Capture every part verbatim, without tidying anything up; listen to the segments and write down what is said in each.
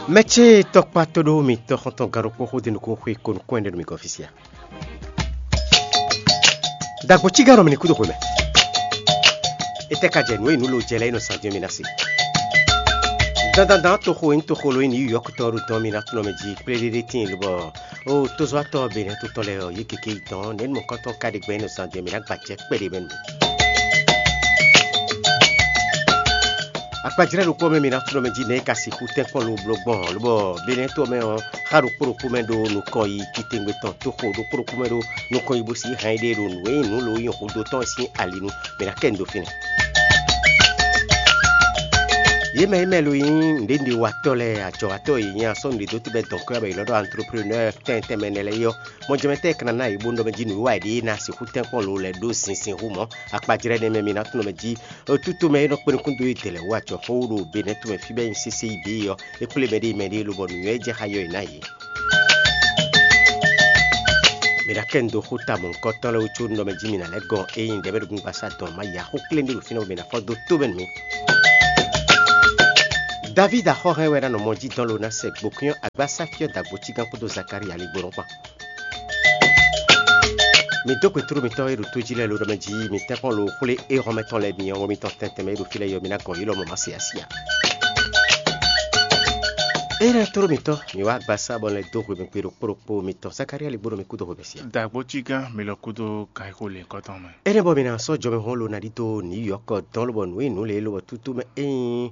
Mɛ ce tɔkpá tó ɖó mi tɔxɔntɔn gán ɖokpó xó dó nukún xwé ko nukún ɛnɛ ɖo mi gɔ́ fí sia. Dagbo cí gán nɔ mi ní kúdo xwe mɛ. Étɛ́ ka jɛ nǔ e nǔ lo jɛ lɛ́ɛ é nɔ sán dín mi ná se. Dandandan toxo e nyí toxo lo e nyí New York tɔn ɖo dɔn mi ná tunɔ mɛ jí kplé ɖéɖé tíin lobɔ ó tozɔ́watɔ́ Benɛ́ to tɔn lɛ́ɛ ɔ́, yě gěgé yi dɔn nɛ̌ mɔ̌kɔntɔn ka ɖe gbɛn é nɔ zán jɛ mǐ ná gba acɛ kpɛɖé mɛ nu. Akpajlɛ́ ɖokpó mɛ mǐ ná tunɔ mɛ jí nɛ̌ é ka sixú tɛ́nkpɔ́n lo bló gbɔn ɔ́, lobɔ Benɛ́ to mɛ ɔ́, xá ɖokpó ɖokpó mɛ ɖó nukɔn yi titewungbe tɔn toxo ɖokpó ɖokpó mɛ ɖó nukɔn yi bó sí hɛn ɖé ɖo nǔ e nyí nǔ lo yi xudó tɔn sín ali nu. Mǐ ná kɛ nu dó fínɛ́. Yě mɛ e mɛ lo nyí nǔɖénúɖéwatɔ́ lɛ́ɛ, ajɔ̌watɔ́ e nyí asɔ́ nǔɖédótɛ́ bɛ́ dɔn kwɛ́ bɔ è nɔ ɖɔ antreprenɔ́ɔ tɛnmɛ tɛnmɛ nɛ́ lɛ́ɛ é ɔ́, mɔjɛmɛtɛ́ e ka ná ná yě bó nɔ mɛ jí nǔwiwa e ɖě ná sixú tɛ́nkpɔ́n lo lɛ́ɛ ɖó zinzin hú mɔ̌. Akpajlɛ́ nɛ́ mɛ mi ná tunɔ mɛ jí. Tutu mɛ e nɔ kpé nukún dó e dɛ̌ lɛ́ɛ wú acɔxó ɖo Benɛ́ tomɛ fí bɛ́ nyí sésé yi bǐ é ɔ́, é kplé mɛɖée mɛɖée lobɔ nǔnywɛ́ jɛ xá yɔ è nǎ yě. Mǐ ná kɛ nu dó xó ta mɔ̌hunkɔtɔn lɛ́ɛ wú có nɔ mɛ jí mǐ ná lɛ́ gɔn ényí ɖɛ̌ mɛ ɖo gbígbasá dɔn má ya xó kléɖé ɖo fínɛ́ bɔ mǐ ná fɔ́n dó tó mɛ nú mì. Davídi axɔ́hɛn wɛ ná nɔ mɔ jí dɔn lo ná sɛ gbǒkwín ɔ́ agbásáfí ɔ́ dagbo cígán kpódó Zakalía ligbónɔ kpán. Mi dó gbe tló mitɔn e ɖo tó jí lɛ́ɛ lo ɖɔ mɛ jí mi tɛ́nkpɔ́n lo xwlé éhɔ́nmɛ tɔn lɛ́ɛ mi ɔ́, mitɔn tɛntɛn mɛ e ɖo fí lɛ́ɛ é ɔ́, mi ná gɔn yě lɔmɔ̌ ma se asi ǎ. Énɛ́ tló mitɔn, mi wá agbasá bɔ lɛ́ dó hwemɛ gbe ɖokpó ɖokpó mitɔn Zakalía ligbónɔ mi kúdó hwemɛ sia. Dǎgbó cí gán mi lɔ kúdó kan e xo lěhunkɔtɔn mɛ. Énɛ́ bɔ mi ná sɔ́ jɔmɛhún lo ná ɖidó New York dɔn lobɔ nǔ e nǔ lě lobɔ tútú mɛ ényí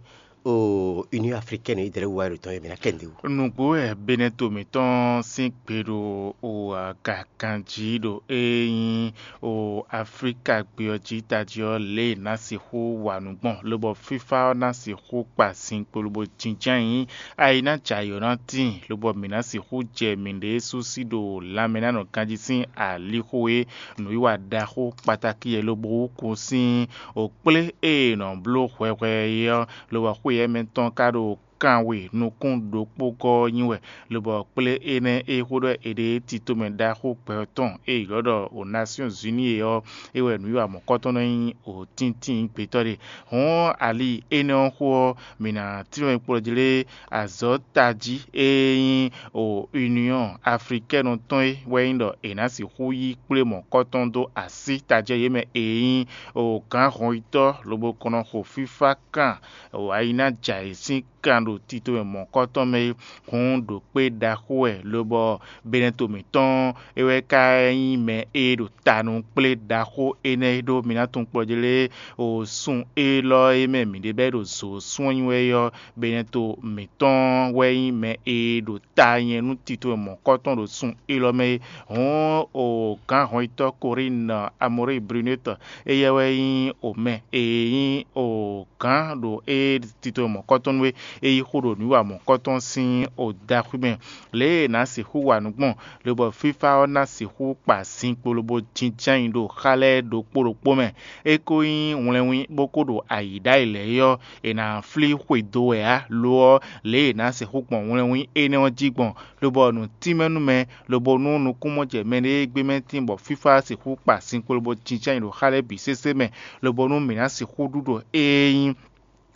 o Union Africaine yi dɛ̌ wá ɖo tɔn e mǐ ná kɛ nǔɖé wú. Nǔgbó wɛ Benɛto mǐtɔn sín gbe ɖo o agaganjí ɖo e nyí o Aflíka gbe ɔ́ jí tají ɔ́ lě e è nǎ sixú wa nǔ gbɔn, lobɔ fífá ɔ́ ná sixú kpa zinkpo lobo jínjɔ́n ayǐ. Ayi ná jɛ ayǐ ɔ́ ná tíin, lobɔ mǐ ná sixú jɛ mǐɖée sú sí ɖo lanmɛ ná nɔ ganjí sín alixo e nǔwiwa ɖaxó kpatakí e lobo wú kún sín o kplé e è nɔ bló hwɛhwɛ é ɔ́, lobɔ xwé yɛ́ mɛ tɔn ka ɖo kanwe nukún ɖokpó gɔ́ ɔ́ nyi wɛ, lobɔ kplé énɛ́ e xó ɖɔ è ɖe é tito mɛ ɖaxó gbɛ ɔ́ tɔn e è ylɔ́ ɖɔ o Nasyɔ́n Zuni é ɔ́, é wɛ nǔwiwa mɔ̌kɔtɔn nɔ nyí o tíntín gbětɔ́ ɖe. Hɔ̌n ali énɛ́ ɔ́ xó ɔ́, mǐ ná tlɔ́n e kplɔ́ jlé azɔ̌ tají e nyí o Union Africaine tɔn é wɛ nyí ɖɔ è nǎ sixú yí kplé mɔ̌kɔtɔn dó así tajɛ yě mɛ e nyí o gǎn hɔnyitɔ́ lobo kɔn nɔ xo fífá kan o ayi ná jɛ ayǐ sín kan ɖo tito e mɔ̌kɔtɔn mɛ é. Hǔn ɖo kpé ɖaxó wɛ, lobɔ Benɛto mǐtɔn é wɛ ka nyí mɛ e ɖo ta nú kplé ɖaxó énɛ́ ɖó mi ná tunwun kplɔ́ jlé o sun élɔ́ e mɛ mǐ ɖe bɛ́ ɖo zǒ sún ɔ́ nyi wɛ é ɔ́, Benɛto mǐtɔn wɛ nyí mɛ e ɖo ta nyɛ nú tito e mɔ̌kɔtɔn ɖo sun élɔ́ mɛ é. Hǔn o gǎn hɔnyitɔ́ Korín Amɔríi Brunetɔ, éyɛ́ wɛ nyí o mɛ e nyí o gǎn ɖo é tito mɔ̌kɔtɔn nú é, é yí xó ɖo nǔwiwa mɔ̌kɔtɔn sín o daxwí mɛ. Lě e è nǎ sixú wa nǔ gbɔn, lobɔ fífá ɔ́ ná sixú kpa zinkpo lobo jínjɔ́n ayǐ ɖo xá lɛ́ɛ ɖokpó ɖokpó mɛ. É ko nyí wlɛnwín bó ko ɖo ayǐ ɖ'ayǐ lɛ́ɛ é ɔ́, è nǎ flí xwedó wɛ ǎ; lo ɔ́, lě e è nǎ sixú gbɔn wlɛnwín énɛ́ ɔ́ jí gbɔn, lobɔ nǔ tínmɛ nú mɛ, lobo nú nukúnmɔjɛmɛ ɖé e gbé mɛ tín bɔ fífá sixú kpa zinkpo lobo jínjɔ́n ayǐ ɖo xá lɛ́ɛ bǐ sésé mɛ, lobo nú mǐ ná sixú ɖu ɖo ée nyí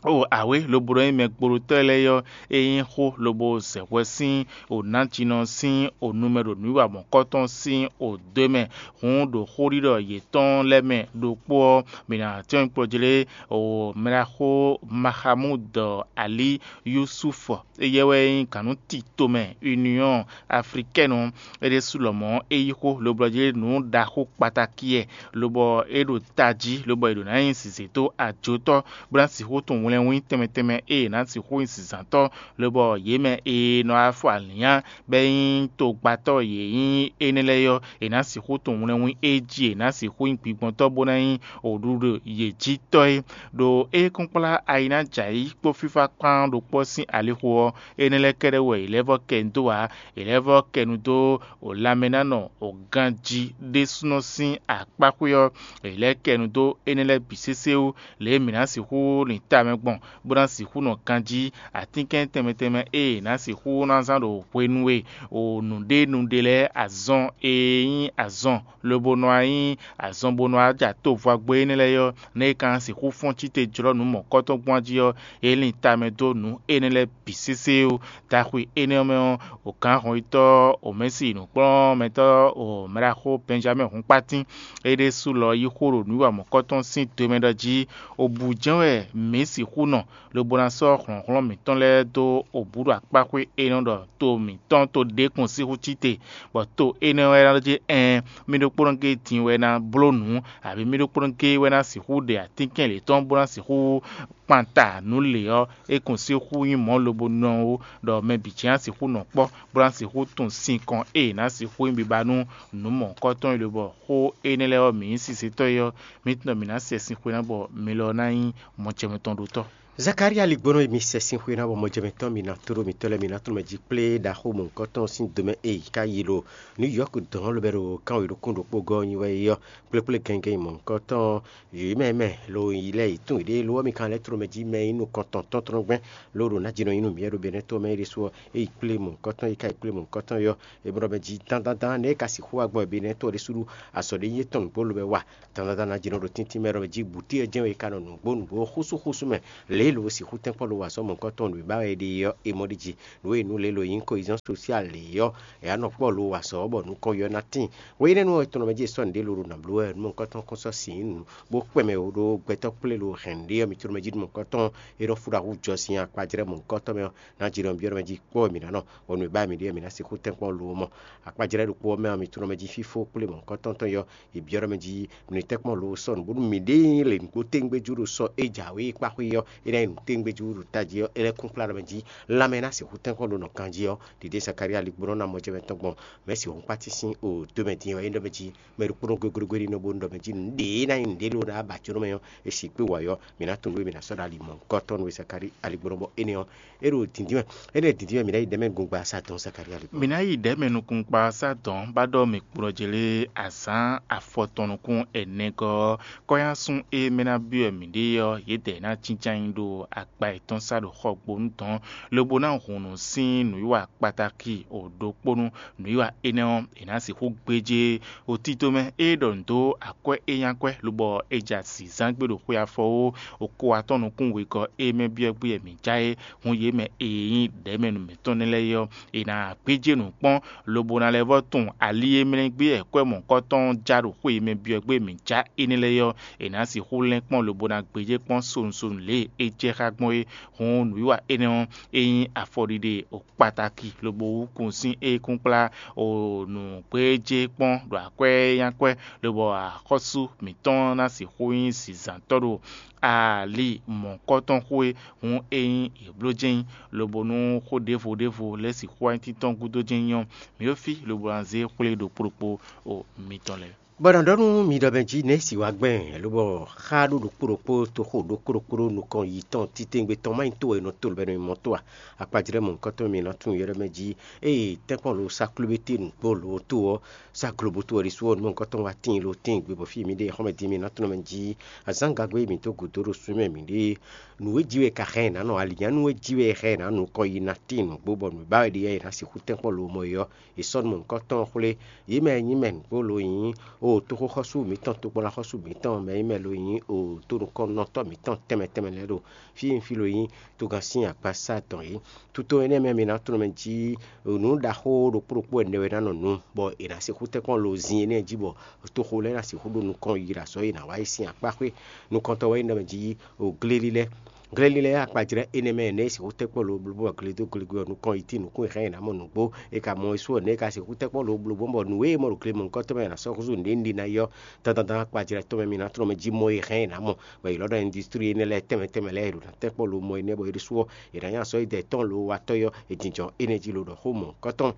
o awě lobo nɔ nyí mɛ gbolotɔ́ lɛ́ɛ ɔ́, é nyí xó lobo zɛ hwɛ sín o nǎjínɔ sín o nu mɛ ɖo nǔwiwa mɔ̌kɔtɔn sín o dó mɛ. Hǔn ɖo xóɖiɖɔ yětɔn lɛ́ɛ mɛ ɖokpó ɔ́, mǐ ná tɛ́n kplɔ́ jlé o mɛɖaxó Maxamúd Ali Yusuf, éyɛ́ wɛ nyí gǎnnútitomɛ Union Africaine ɔ́, é ɖésú lɔmɔ̌ é yí xó loblɔ́ jlé nǔ ɖaxó kpatakí ɛ, lobɔ é ɖo tají, lobɔ è ɖǒ ná nyi zǐzé dó ajotɔ́, bó ná sixú tunwun wlɛnwín tɛnmɛ tɛnmɛ e è nǎ sixú nyi zǐnzántɔ́, lobɔ yě mɛ e nɔ wá fɔ alǐnnyá bɔ é nyí togbatɔ́ yě nyí énɛ́ lɛ́ɛ ɔ́, è nǎ sixú tunwun wlɛnwín é jí è nǎ sixú nyí gbigbɔntɔ́ bó ná nyí oɖuɖu yě jí tɔ́ é. Ɖo é kún kplá ayi ná jɛ ayǐ kpó fífá kpán ɖokpó ɔ́ sín alixo ɔ́, énɛ́ lɛ́ɛ kɛ́ɖɛ́ wú wɛ è lɛ́ vɔ́ kɛ nu dó ǎ; è lɛ́ vɔ́ kɛ nu dó o lanmɛnánɔ o ganjí ɖésúnɔ sín akpáxwé ɔ́, è lɛ́ kɛ nu dó énɛ́ lɛ́ɛ bǐ sésé wú, lě e mǐ ná sixú lin tamɛ gbɔn, bó ná sixú nɔ ganjí atínkɛn tɛnmɛ tɛnmɛ e è nǎ sixú ná zán ɖo hwenu e o nǔɖénúɖé lɛ́ɛ azɔn e nyí azɔn lobo nɔ wá nyí azɔn bó nɔ wá ja tovwagbe énɛ́ lɛ́ɛ ɔ́, nɛ̌ è ka ná sixú fɔ́n cíte jlɔ́ nǔ mɔ̌kɔtɔn gbɔn jí ɔ́, é lin tamɛ dó nǔ énɛ́ lɛ́ɛ bǐ sésé ó. Daxwe énɛ́ ɔ́ mɛ ɔ́, wǒgán hɔnyitɔ́ Omɛ̌si nǔkplɔ́nmɛtɔ́ Omɛɖaxó Bɛnjamɛ́ɛ Hunpatín é ɖésú lɔ yí xó ɖo nǔwiwa mɔ̌kɔtɔn sín do mɛ ɖɔ jí: Obǔ jɛ́n wɛ mǐ sixú nɔ, lobo ná sɔ́ hlɔ̌nhlɔ́n mǐtɔn lɛ́ɛ dó obǔ ɖo akpáxwé e nɔ ɖɔ to mǐtɔn to ɖěkun sixú cí te, bɔ to énɛ́ wɛ ná ɖɔ jí: Ɛɛn, mì ɖokpónɔ géé din wɛ ná bló nǔ, abǐ mì ɖokpónɔ géé wɛ ná sixú ɖe atínkɛn yětɔn bó ná sixú kpan ta nǔ lě ɔ́, é kɔn sixú nyí mɔ̌ lobo nɔ ó, ɖɔ mɛ bǐ jɛ́n ná sixú nɔ kpɔ́, bó ná sixú tunwun sinkɔn e è nǎ sixú nyí biba nú nǔ mɔ̌hunkɔtɔn e lobɔ xó énɛ́ lɛ́ɛ ɔ́ mǐ nyí sisetɔ́ é ɔ́, mǐ tunwun ɖɔ mǐ ná sɛ sin xwe ná bɔ mi lɔ ná nyí mɔjɛmɛtɔ́ɖótɔ́. Zakalía ligbónɔ e mi sɛ sin xwe ná bɔ mɔjɛmɛtɔ́ mi ná tló mitɔ́ lɛ́ɛ mi ná tló mɛ jí kplé ɖaxó mɔ̌hunkɔtɔn sín do mɛ e yi ká yi ɖo Nǔ Yɔ́k dɔn ɔ́ lobɛ ɖo kánwé ɖokún ɖokpó gɔ́ ɔ́ nyi wɛ é ɔ́, kplékplé gɛngɛn mɔ̌hunkɔtɔn yǒyó mɛ mɛ lo yi lɛ́ɛ yi tún yěɖée lo ɔ́, mi ka lɛ́ tló mɛ jí mɛ e nyí nukɔntɔn tɔ́ntɔ́n gbɛn lo ɖo ná jí nɔ nyí nú mǐ wɛ ɖo Benɛ́to mɛ é ɖésú ɔ́, é yi kplé mɔ̌hunkɔtɔn é ka yi kplé mɔ̌hunkɔtɔn é ɔ́, è mɔ ɖɔ mɛ jí dán dán dán nɛ̌ é ka sixú wa gbɔn Benɛ́to ɔ́ ɖésú ɖu azɔ̌ ɖé nyí étɔn nǔgbó lobɛ wa. Dandan ná jǐ nɔ ɖo tíntín mɛ ɖɔ mɛ jí bǔtí ɔ́ jɛ́n wɛ è ka nɔ nǔgbó nǔgbó xúsúxúsú mɛ, lě e lo sixú tɛ́nkpɔ́n lo wa azɔ̌ mɔ̌hunkɔtɔn nǔ e ba wɛ è ɖe é ɔ́, è mɔ ɖi jí. Nǔ e nǔ lě lo nyí kohezɔ́n sosial lě ɔ́, è wǎ nɔ kpɔ́ lo wa azɔ̌ ɔ́ bɔ nukɔn ylɔ́ ná tíin. Hwenɛ́nu ɔ́, è tunɔ mɛ jí è sɔ́ nǔɖé lo ɖo nǎ bló wɛ nú mɔ̌hunkɔtɔn kɔn sɔ́ sin nǔ bó kpɛ mɛ wǒ ɖó gbɛtɔ́ kplé lo hɛ̌nnu ɖé ɔ́, mi tunɔ mɛ jí nú mɔ̌hunkɔtɔn e nɔ fú ɖo awu jɔ sin akpajlɛ́ mɔ̌hunkɔtɔn mɛ ɔ́, ná jǐ nɔ byɔ́ mɛ jí kpɔ́ mǐ ná nɔ, bɔ nǔ e ba mǐ ɖe ɔ́, mǐ ná sixú tɛ́nkpɔ́n lo mɔ. Akpajlɛ́ ɖokpó ɔ́ mɛ ɔ́, mi tunɔ mɛ jí fífó kplé mɔ̌hunkɔtɔn tɔn yɔ, è byɔ́ ɖɔ mɛ jí nǔ e tɛ́nkpɔ́n lo sɔ́ nǔ bónú mǐɖée nyí lě nǔgbó téŋgbé jú ɖo sɔ e jǎwe e kpá xwé ɔ́, é ná nyí nǔ téŋgbé jú ɖo tají ɔ́, é lɛ́ kún kplá ɖɔ mɛ jí lanmɛ ná sixú tɛ́nkpɔ́n ɖo nɔ ganjí ɔ́, ɖiɖe Zakalía ligbónɔ ná mɔ jɛ mɛ tɔn gbɔn. Mɛ̌si hɔn kpátín sín o dó mɛ din wɛ é ɖɔ mɛ jí mɛ ɖokpónɔ goglogbé ɖi nɔ bónú ɖɔ mɛ jí nǔɖé ná nyí nǔɖé ɖó ná ba jǒnɔ mɛ ɔ́, é si kpé wǎ ɔ́, mǐ ná tunwun nú é, mǐ ná sɔ́ ɖo ali mɔ̌hunkɔtɔn nú we Zakalía aligbónɔ bɔ énɛ́ ɔ́, é ɖo dǐndín mɛ. Énɛ́ dǐndín mɛ mǐ ná yi ɖɛ̌ mɛ gbɔn gba sa dɔn Zakalía aligbónɔ. Mǐ ná yi ɖɛ̌ mɛ nukúnkpasá dɔn bá ɖɔ mǐ kplɔ́ jlé azǎn afɔtɔn nukún ɛnɛgɔ́ ɔ́, kɔ́nyásún e mɛ ná byɔ́ mǐɖée ɔ́, yědɛɛ ná jínján nyi ɖo akpa yětɔn sá ɖo xɔgbónu dɔn, lobo ná hun nǔ sín nǔwiwa kpatáki o ɖokpónú. Nǔwiwa énɛ́ ɔ́, è nǎ sixú gbéjé o tito mɛ e ɖɔ nǔ dó akwɛ́ e nyí akwɛ́, lobɔ è ja zǐnzán gbé ɖo xwe afɔ ó, o ko atɔ́ nukún wegɔ́ e mɛ byɔ́ gbé wɛ mǐ já é. Hun yě mɛ e nyí ɖɛ̌mɛnu mǐtɔn nɛ́ lɛ́ɛ é ɔ́, è nǎ gbéjé nǔ kpɔ́n, lobo ná lɛ́ vɔ́ tunwun ali e mlɛ́ gbé wɛ kwɛ́ mɔ̌hunkɔtɔn ɔ́ já ɖo xwé e mɛ byɔ́ gbé mǐ já énɛ́ lɛ́ɛ é ɔ́, è nǎ sixú lɛ́n kpɔ́n lobo ná gbéjé kpɔ́n sonu sonu lě e é jɛ xá gbɔn é. Hǔn nǔwiwa énɛ́ ɔ́, é nyí afɔɖiɖe kpataki lobo wú kun sín é kún kplá o nǔgbéjé kpɔ́n ɖo akwɛ́ nyákwɛ́, lobɔ axɔ́sú mǐtɔn ná sixú nyí zǐnzǎntɔ́ ɖo ali mɔ̌kɔ́tɔn xwé, hǔn é nyí yě bló jɛ́n nyí, lobo nú xó ɖěvo ɖěvo lɛ́ sixú wá nyí títɔn gúdo jɛ́n nyí ɔ́, mǐ ɖo fí lobo ná zé xwlé ɖokpó ɖokpó o mitɔn lɛ́ɛ. Bɔ è nɔ ɖɔ nú mi ɖɔ mɛ jí nɛ̌ si wá gbɛn, lobɔ xá ɖó ɖokpó ɖokpó toxo ɖokpó ɖokpó ɖó nukɔn yi tɔn titewungbe tɔn má nyí to wɛ è nɔ to lobɛ nɔ nyi mɔ tó a? Akpajlɛ́ mɔ̌hunkɔtɔn mǐ ná tunwun yɔ́ ɖɔ mɛ jí, ée tɛ́nkpɔ́n lo sá klúbété nǔgbó lo tó ɔ́, sá globo tó wɛ ɖésú ɔ́, nǔ mɔ̌hunkɔtɔn wá tíin lo tíin gbe bɔ fí mǐ ɖe xɔ́mɛ din mǐ ná tunwun mɛ jí azǎn gagbe e mǐ dó gǔdo ɖo súnmɛ mǐ ɖe nǔ e jí wɛ è ka hɛn ɛ nǎ nɔ, alǐnnyánú e jí wɛ è hɛn ɛ nǎ nukɔn yi ná tíin nǔgbó bɔ nǔ ba wɛ ɖe ɔ́, è nǎ sixú tɛ́nkpɔ́n lo mɔ é ɔ́, è sɔ́ nú mɔ̌hunkɔtɔn xwlé. Yě mɛ e nyí mɛ nǔgbó lo nyí o toxóxɔ́sú mǐtɔn, tokpɔnláxɔ́sú mǐtɔn, mɛ e nyí mɛ lo nyí o tonukɔnnɔtɔ́ mǐtɔn tɛnmɛ tɛnmɛ lɛ́ɛ ɖo fí e nyí fí lo nyí togán sín akpasá tɔn é. Tuto énɛ́ mɛ mi ná tunwun mɛ jí nǔ ɖaxó ɖokpó ɖokpó ɛnɛ wɛ ná nɔ nu, bɔ è nǎ sixú tɛ́nkpɔ́n lo zin énɛ́ jí bɔ toxo lɛ́ɛ ná sixú ɖo nukɔn yi ɖo azɔ̌ e è nǎ wa é sín akpá xwé. Nukɔntɔn wɛ nyí ɖɔ mɛ jí o glélí lɛ́ɛ. Glélí lɛ́ɛ akpajlɛ́ énɛ́ mɛ nɛ̌ è sixú tɛ́nkpɔ́n lo bló bɔ glé dó glégwe ɔ́ nukɔn yi tín nǔkún e hɛn è nǎ mɔ nǔgbó, è ka mɔ é sú ɔ́, nɛ̌ è ka sixú tɛ́nkpɔ́n lo bló gbɔn bɔ nǔ e è mɔ ɖo gle mɔ̌hunkɔtɔn mɛ è nǎ sɔ́ húzú nǔɖé ní ɖi ná yi ɔ́, dandan dan akpajlɛ́ tɔn mɛ mi ná tlɔ́n mɛ jí mɔ e hɛn è nǎ mɔ, bɔ è lɔ̌ ɖɔ industrie énɛ́ lɛ́ɛ tɛnmɛ tɛnmɛ lɛ́ɛ è ɖo ná tɛ́nkpɔ́n lo mɔ énɛ́ bɔ é ɖésú ɔ́, è nǎ nya sɔ́ yi dɛ tɔn lo watɔ́ yi ɔ́, è jínjɔ́n énɛ́ jí lo ɖɔ xó mɔ̌hunkɔtɔn.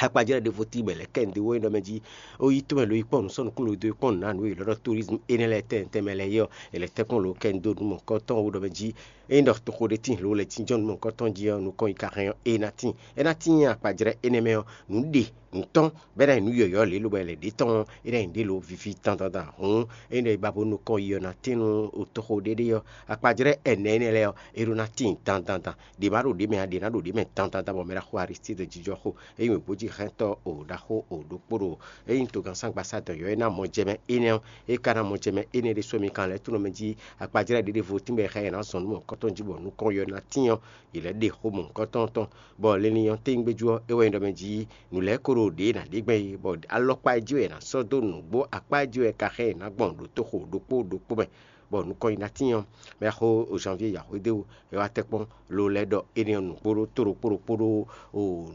Akpajlɛ́ ɖěvo tíin bɔ è lɛ̌ kɛ nǔ dó wɛ ɖɔ mɛ jí ó yí tɔ́n mɛ lo yi kpɔ́n nǔ sɔ́ nukúnmɛ lo dó yi kpɔ́n nǔ ná nǔ e è lɔ ɖɔ tourisme énɛ́ lɛ́ɛ tɛnmɛ tɛnmɛ lɛ́ɛ é ɔ́, è lɛ̌ tɛ́nkpɔ́n lo kɛ nǔ dó nǔ mɔ̌hunkɔtɔn ó ɖɔ mɛ jí ényí ɖɔ toxo ɖé tíin lo lɛ́ jínjɔ́n nǔ mɔ̌hunkɔtɔn jí ɔ́, nukɔn yi ka hɛn ɔ́, é ná tíin. É ná tíin akpajlɛ́ énɛ́ mɛ ɔ́, nǔ ɖe nǔ tɔn bɔ é ná nyí nǔ yɔ̌yɔ́ lě lobɔ è lɛ̌ ɖě tɔn ɔ́, é ná nyí ɖě lo víví dandan hǔn é nɔ yi ba bó nukɔn yi ɔ́ ná tín nú toxo ɖéɖé ɔ́, akpajlɛ́ ɛnɛ énɛ́ lɛ́ɛ ɔ́, é ɖó ná tíin dandan. Ɖě ma ɖo ɖě mɛ ǎ, ɖě ná ɖo ɖě mɛ dandan bɔ mɛ ɖaxó Aristide jínjɔ́n xo. Ényí wěbójixɛntɔ́ o ɖaxó o ɖokpó ɖo ényí togannsángbasadɔn yɔ̌yɔ́ ná mɔ jɛ mɛ énɛ́ ɔ́, é ka ná mɔ jɛ mɛ énɛ́ ɖésú mi kan lɛ́ tónɔ mɛ jí akpajlɛ́ ɖěɖevo tínbɔ è xá yě ná zɔn nǔ mɔ̌hunkɔtɔn jí bɔ nukɔn yɔ ná tín ɔ́, yě lɛ́ ɖe xó mɔ̌hunkɔtɔn tɔn, bɔ linlin ɔ́ tɛ́ngbéjú ɔ́, é wɛ nyí ɖɔ mɛ jí nǔ lɛ́ɛ ko ɖo ɖě ná ɖe gbɛn é, bɔ alɔkpa e jí wɛ è nǎ sɔ́ dó nǔgbó akpá e jí wɛ ka xá yě ná gbɔn ɖo toxo ɖokpó ɖokpó mɛ, bɔ nukɔn yi ná tín ɔ́, mɛ xó Janvier Yaxwedéwu é wá tɛ́ kpɔ́n lo lɛ́ ɖɔ énɛ́ ɔ́ nǔgbó ɖó tó ɖokpó ɖokpó ɖó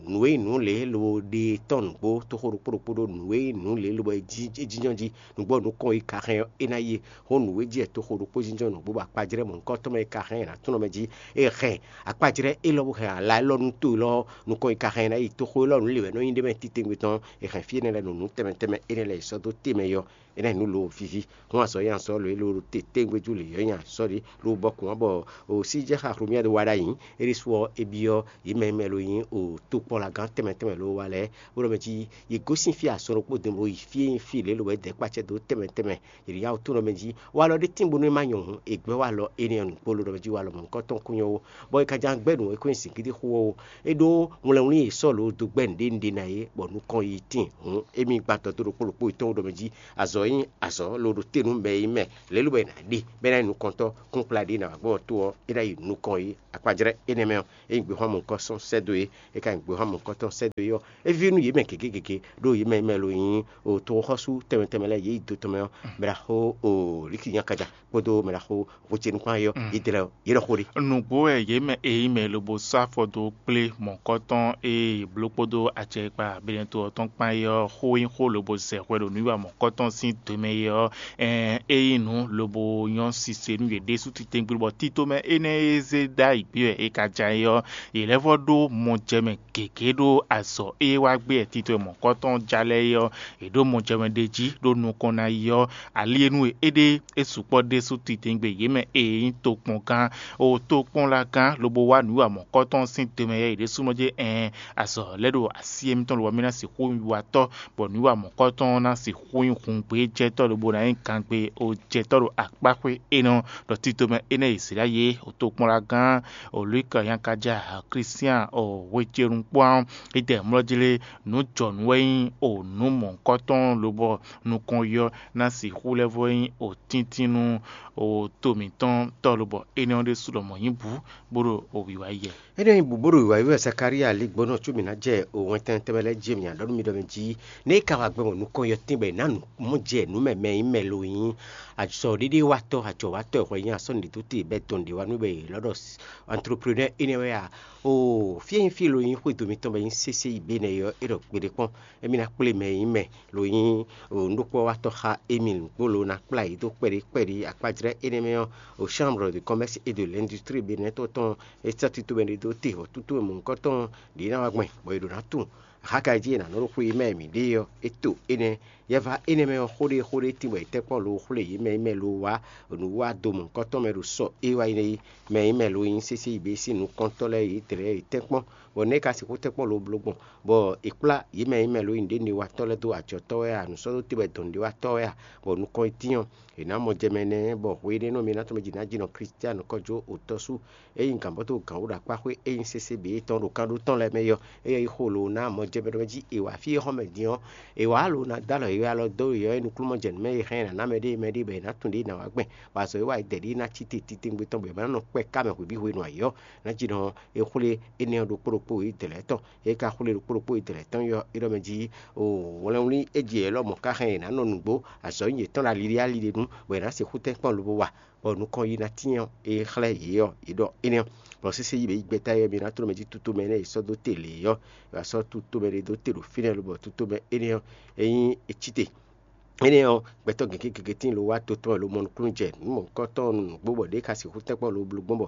nǔ e nyí nǔ lě lo ɖe tɔn nǔgbó toxo ɖokpó ɖokpó ɖó nǔ e nyí nǔ lě lobo é jínjɔ́n jí nǔgbó nukɔn yi ka hɛn ɔ́, é ná yi xó nǔ e jí wɛ toxo ɖokpó jínjɔ́n nǔgbó bɔ akpajlɛ́ mɔ̌hunkɔtɔn mɛ e ka hɛn nǎ tún nɔ mɛ jí é hɛn akpajlɛ́ élɔ́ bó hɛn ala élɔ́ nú to élɔ́ nukɔn yi ka hɛn ná yi toxo élɔ́ nǔ lě wɛ nɔ nyí ɖé mɛ titewungbe tɔn è hɛn fí énɛ́ lɛ́ɛ ɖo nǔ tɛnmɛ tɛnmɛ énɛ́ lɛ́ɛ yi sɔ́ dó te mɛ yɔ. É ná nyí nǔ lo víví. Hɔn azɔ̌ nyi azɔ̌ lo e lo te tɛ́ngbéjú lě yɔ́ nyi azɔ̌ ɖé lo bɔ kún wá bɔ o sí jɛ xa xlomia ɖo wa ɖ'ayǐ. É ɖésú ɔ́, é byɔ́ yě mɛ e mɛ lo nyí o tokpɔ́nlagán tɛnmɛ tɛnmɛ lo wa lɛ́ɛ bó ɖɔ mɛ jí yě gosín fí azɔn ɖokpó din bó yi fí e nyí fí lě lo wɛ dɛ̌kpacɛ dó tɛnmɛ tɛnmɛ. Yě ɖo yá wú tó ɖɔ mɛ jí walɔ ɖé tín bónú é má nyɔ hǔn, è gbɛ́ walɔ énɛ́ ɔ́ nǔgbó lo ɖɔ mɛ jí walɔ mɔ̌hunkɔtɔn kún nyɔ́ ó, bɔ è ka ján gbɛ́ nǔ e kún nyí zǐngídi xó ɔ́ ó. É ɖó wlɛnwlín e Sɔ́ɔlu dó gbɛ́ nǔɖé nǔɖé ná é, bɔ nukɔn yi tíin hǔn, émí gba dɔ̌ dó ɖokpó ɖokpó yětɔn ɖɔ mɛ jí azɔ̌ e nyí azɔ̌ lo ɖo te nú mɛ e nyí mɛ lě lobɔ è nǎ ɖe bɔ é ná nyí nukɔntɔ́ kún kplá ɖě ná wá gbɔ to ɔ́, é ná yi nukɔn yi akpajlɛ́ énɛ́ mɛ ɔ́, é nyí gběxwánmɔkɔ́ sɔ́ sɛ́ dó é, é ka nyí gběxwánmɔkɔ́ tɔn sɛ́ dó é ɔ́, é ví nú yě mɛ gěgé gěgé ɖó yě mɛ e mɛ lo nyí o toxɔxɔ́sú tɛnmɛ tɛnmɛ lɛ́ɛ yě yi do tɔn mɛ ɔ́, mɛ ɖaxó o Liki Nyakaja kpódó mɛ ɖaxó Hwecenu kpán é ɔ́, yě dlɛ́ ɔ́, yě ɖɔ xó ɖé. Nǔgbó wɛ yě mɛ e nyí mɛ lobo sɔ́ afɔ dó kplé mɔ̌kɔ́tɔn e è bló kpódó acɛkpa Benɛto ɔ́ tɔn kpán é ɔ́ xó nyí xó lobo zɛ hwɛ ɖo nǔwiwa mɔ̌kɔ́tɔn sín do mɛ é ɔ́, ɛɛn, é nyí nǔ lobo nyɔ́ sise nú yě ɖésú titewungbe, bɔ tito mɛ énɛ́ e zé ɖ'ayǐ gbé wɛ è ka ja é ɔ́, yě lɛ́ vɔ́ ɖó mɔjɛmɛ gěgé ɖó azɔ̌ e wá gbé wɛ tito e mɔ̌kɔ́tɔn ja lɛ́ɛ é ɔ́, yě ɖó mɔjɛmɛ ɖ'é jí ɖó nukɔn ná yi ɔ́, ali e nú e é ɖe é sukpɔ́ ɖésú titewungbe yě mɛ e nyí tokpɔngán, o tokpɔ́nlagán lobo wá nǔwiwa mɔ̌kɔ́tɔn sín do mɛ yɛ yě ɖésúnɔ jɛ ɛɛn, azɔ̌ lɛ́ ɖo así émítɔn lobɔ mì ná sixú nyí wiwatɔ́, bɔ nǔwiwa mɔ̌kɔ́tɔn ná sixú nyí hǔngbéjɛ́tɔ́ lobo ná nyí gangbé o jɛtɔ́ ɖo akpáxwé énɛ́ ɔ́, ɖɔ tito mɛ énɛ́ e Izlayɛ́li o tokpɔ́nlagán o Lwika Yankaja Klístián o hwecenu kpó ɔ́, é dɛ mlɔ́ jí lé nǔ jɔnǔ wɛ nyí o nǔ mɔ̌hunkɔtɔn lobɔ nukɔn yɔ ná sixú lɛ́ vɔ nyí o tíntín nú o to mǐtɔn tɔ́ lobɔ énɛ́ ɔ́ ɖésú lɔmɔ̌ nyí bǔ bó ɖo o wǐwá yi wɛ. Énɛ́ nyí bǔ bó ɖo wǐwá yi wɛ Zakalía ligbɔnɔ có mǐ ná jɛ o wɛntɛn tɛnmɛ lɛ́ɛ jí mǐ ná ɖɔ nú mi ɖɔ mɛ jí nɛ́ é ka wá gbɛ mɔ nukɔn yɔ tínbɔ è nǎ nǔ mɔ jɛ nǔ mɛ mɛ nyí mɛ lo nyí azɔ̌ɖéɖéwatɔ́, ajɔ̌watɔ́ e hwɛ nyí asɔ́ nǔɖé dó te bɛ́ dɔn nǔɖé wá nú bɔ è lɔ́ ɖɔ entrepreneur énɛ́ wɛ a? Oo, fí e nyí fí e lo nyí xwédo mitɔn bɔ é nyí sésé yi bɛ́nɛ é ɔ́, é ɖɔ gbeɖé kpɔ́n, émí ná kplé mɛ e nyí mɛ lo nyí nǔɖokpɔ́watɔ́ xá émí nǔgbó lo ná kplá yě dó kpɛɖé kpɛɖé akpájlɛ́ énɛ́ mɛ ɔ́, o Chambre de Commerce et de l'Industrie Bénin tɔn tɔn é sɔ́ tito mɛ ɖé dó te, bɔ tútú mɛ mɔ̌hunkɔtɔn ɖě ná wá gbɛn, bɔ è ɖǒ ná tunwun. Axáka jí è nǎ nɔ ɖo xwé e mɛ mǐ ɖe ɔ́, é to énɛ́. Yɛva énɛ́ mɛ ɔ́, xó ɖé xó ɖé tín bɔ è tɛ́ kpɔ́n lo xwlé yě mɛ e mɛ lo wá nǔ wá do mɔ̌hunkɔtɔn mɛ ɖo sɔ é wá yi nɛ́ é. Mɛ e mɛ lo nyí sésé yi bě sín nukɔntɔ́ lɛ́ɛ yě dlɛ̌ yě tɛ́ kpɔ́n, bɔ nɛ̌ ka sixú tɛ́ kpɔ́n lo bló gbɔn, bɔ è kplá yě mɛ e mɛ lo nyí nǔɖénúɖéwatɔ́ lɛ́ɛ dó ajɔ̌tɔ́ wɛ a, nǔsɔ́dóte wɛ dɔ̌núɖéwatɔ́ wɛ a, bɔ nukɔn yi dín ɔ́, è nǎ mɔ jɛ mɛ nɛ́, bɔ hwe énɛ́ nɔ mi ná tɔn mɛ jí ná jí nɔ Klístiánu kɔ́ jó otɔ́sú e nyí gǎnbɔ́tɔ́ gǎnwúɖakpáxwé e nyí sésé bǐ tɔn ɖo kan ɖó tɔn lɛ́ɛ mɛ yɔ, éyɛ́ yi xo lo ná mɔ jɛ mɛ ɖɔ mɛ jí è wǎ fí e xɔ́ mɛ din ɔ́, è wǎ lo ná dó alɔ yě alɔ dó yɔ̌ e nukúnnú jɛ nǔ mɛ e hɛn ná ná mɛ ɖé mɛ ɖé bɔ è nǎ tunwun ɖě è nǎ wá gbɛn, bɔ azɔ̌ e wa è dɛ ɖě ná cí te titewungbe tɔn bɔ è ma ná nɔ kpɛ ká mɛ hwebǐ hwenu ayǐ ɔ́, ná jí nɔ é xwlé énɛ́ ɔ́ ɖokpó ɖokpó yě dɛ̌ lɛ́ɛ tɔn. É ka xwlé ɖokpó ɖokpó yě dɛ̌ lɛ́ɛ tɔn yɔ é ɖɔ mɛ jí o wlɛnwlí é jɛ yě lɔmɔ̌ ká hɛn yě ná nɔ nǔgbó, azɔ̌ nyi yětɔn ɖo ali ɖé ali ɖé nu, bɔ è nǎ sixú tɛ́nkpɔ́n lobo wa, bɔ nukɔn yi ná tyɛ́n ɔ́, é xlɛ́ yě ɔ́, yě ɖɔ énɛ́ ɔ́, bɔ sésé yi bě yi gbɛ́ta yɛ mi ná tló mɛ jí tutomɛ énɛ́ yi sɔ́ dó te lě ɔ́, è wǎ sɔ́ tutomɛ ɖé dó te ɖo fínɛ́ lobɔ tutomɛ énɛ́ ɔ́, é nyí ecíte. Énɛ́ ɔ́, gbɛtɔ́ gěgé gěgé tíin lo wá to tɔn e lo mɔ nukúnnú jɛ nǔ mɔ̌hunkɔtɔn nǔgbó bɔ ɖě ka sixú tɛ́nkpɔ́n lo bló gbɔn bɔ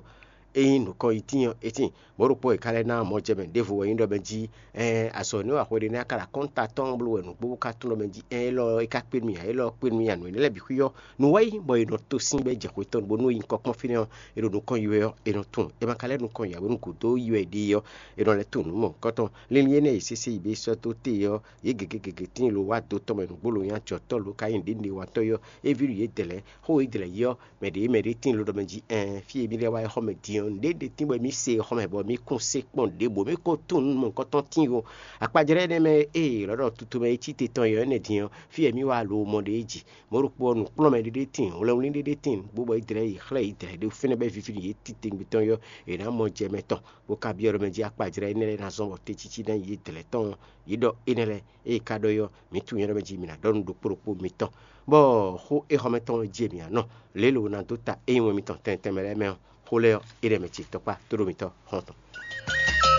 ényí nǔkɔn yi tíin ɔ́, é tíin. Mɔ̌ ɖokpó e ka lɛ́ ná mɔjɛmɛ ɖěvo wɛ nyí ɖɔ mɛ jí, ɛɛn azɔ̌ énɛ́ wa xwe ɖé nɛ́ ka ɖo akɔ́nta tɔn bló wɛ nǔgbó bó ka tunwun ɖɔ mɛ jí, ɛɛn élɔ́ é ka kpé nú mì ǎ, élɔ́ ɔ́ kpé nú mì ǎ, nǔ énɛ́ lɛ́ɛ bǐ xwí ɔ́, nǔ wá yí bɔ è nɔ to sín bɔ é jɛ xwetɔ́n bó nú é nyí kɔ́kpɔ́n fínɛ́ ɔ́, è ɖo nukɔn yi wɛ ɔ́, è nɔ tunwun. È ma ka lɛ́ nukɔn yi ǎ bónú gǔdo yi wɛ è ɖe é ɔ́, è nɔ lɛ́ tunwun nǔ mɔ̌hunkɔtɔn. Linlin énɛ́ e sésé yi bě sɔ́ dó te ɔ́, yě gěgé gěgé tíin lo wá do tɔn mɛ nǔgbó lo nyí ajɔ̌tɔ́ lo ka nyí nǔɖé nǔɖé watɔ́ é ɔ́, é ví ɖu yě dɛ̌ lɛ́ɛ. Xó e dɛ̌ lɛ́ɛ yi ɔ́, mɛ ɖě mɛ ɖě tíin lo ɖɔ mɛ jí, ɛɛn fí e mì lɛ́ wá yi xɔ mɛ din ɔ́, nǔɖé ɖé tíin bɔ mì se xɔ mɛ bɔ mì kún se kpɔ́n ɖěbǔ, mì ko tunwun nú mɔ̌hunkɔtɔn tíin ó. Akpajlɛ́ énɛ́ mɛ e è lɔ̌ ɖɔ tutu mɛ e cí te tɔn é ɔ́, énɛ́ din ɔ́, fí e mì wá lo mɔ ɖe é ji. Mɔ̌ ɖokpó ɔ́, nǔkplɔ́nmɛ ɖé ɖé tíin, wlɛnwlí ɖé ɖé tíin, bó bɔ é dlɛ́ yi xlɛ́ yi dɛ̌ ɖé fínɛ́ bɔ é víví nú yě titewungbe tɔn é ɔ́, è nǎ mɔ jɛ mɛ tɔn, bó ka byɔ́ ɖɔ mɛ jí akpajlɛ́ énɛ́ lɛ́ɛ ná zɔ́n bɔ tɛ́ntící ná nyi yě dlɛ̌ tɔn ɔ́, yě ɖɔ énɛ́ lɛ́ɛ. Ée ka ɖɔ é ɔ́, mǐ tunwun nyɛ ɖɔ mɛ jí mǐ ná ɖɔ nú ɖokpó ɖokpó mitɔn, bɔ xó éhɔ́mɛtɔn ɔ́ jí e mǐ ná nɔ. Lě e lo ná dó ta ényí wɛn mitɔn tɛnmɛ tɛnmɛ lɛ́ɛ mɛ ɔ́, xó lɛ́ɛ ɔ́, é ɖɛ mɛ ce tɔkpá tóɖó mitɔn xɔ́ntɔn.